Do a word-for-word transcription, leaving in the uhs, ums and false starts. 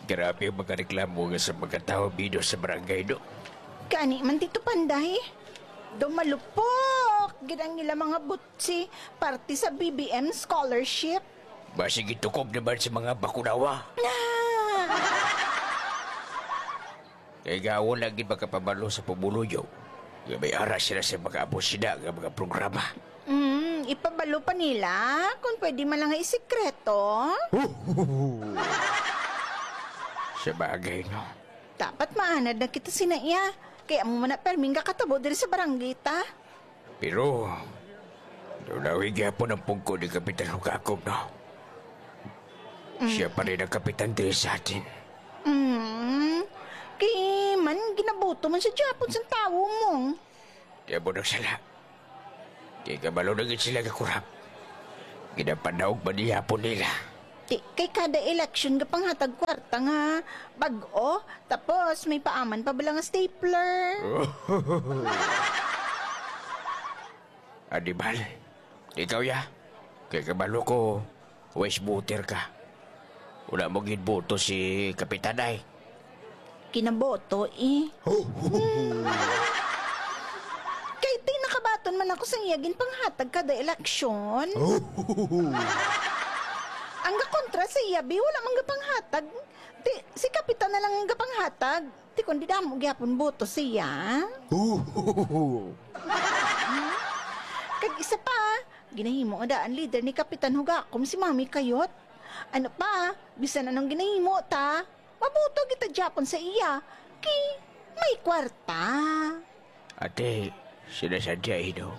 Grabe ang mga reklamo nga sa mga tawo, Bido, sa barangay, no? Gani man, Tito Panday. Daw malupok gid ang ila mga butsi parte sa B B M scholarship. Basig itukob naman sa mga bakunawa. Na! Kay gawon lagi makapabalo sa pumuluyo nga may ara sila sa mga amo sina nga mga programa. Mm, ipabalo pa nila kung pwede man lang nga isikreto. Sa bagay, no? Dapat maanad na kita sina iya. Kaya mo man na perming kakatabo diri sa barangay ta. Pero, nulawi gyapon ang pungko ni Kapitan Hugakob, no? Mm. Siya pa rin ang kapitan diri sa atin. Mm. Kay man, ginaboto man siya gyapon sang tawo mo. Di mo nagsala. Di ka malo na gid sila gakurap. Ginapanaog man niyapon nila. Di, kay kada eleksyon nga panghatag kwarta nga bag-o, tapos may paaman pa bala nga stapler. Anibal, ikaw ya. Kay kabalo ko, wise voter ka. Wala mo gid boto si Kapitan ay. Kinaboto, eh. Kay ti nakabaton man ako sa iya ginpanghatag kada eleksyon. Ang gakontra sa iya, bi, wala man gapanghatag. Ti, si Kapitan na lang ang gapanghatag. Ti, kundi damo gyapon boto siya. Kag isa pa, ginahimo nga daan leader ni Kapitan Hugakom si Mami Kayot. Ano pa, bisan anong ginahimo ta, mabuto kita gyapon sa iya. Kay may kwarta. Ate, sinasadya ino.